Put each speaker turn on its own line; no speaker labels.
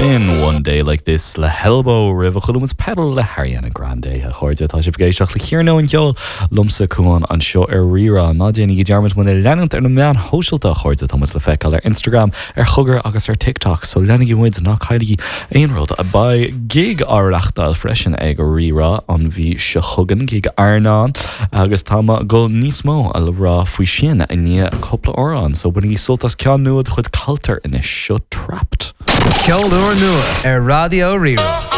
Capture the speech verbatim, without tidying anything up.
B'in One Day Like This le Elbow roimh chuala muid Petal le Ariana Grande a chairde tá sibh ag éisteacht le hiarnóin cheoil liomsa Cuán anseo ar Rí-Rá ná déanaigí dearmad muid a leanúint ar na meáin shóisialta a chairde tá muid le feiceáil ar Instagram ar Chogar agus ar TikTok so leanaigí muid ná cailligí aon rud a beidh gig á reáchtáil freisin ag Rí-Rá an mhí seo chugainn gig airneáin agus tá mé ag dul níos mó a le rá faoi sin i ndiaidh cúpla amhrán so bainigí sult as ceann nua de chuid Culture anois seo Trapped.
Ceol úr nua ar Raidió Rí-Rá.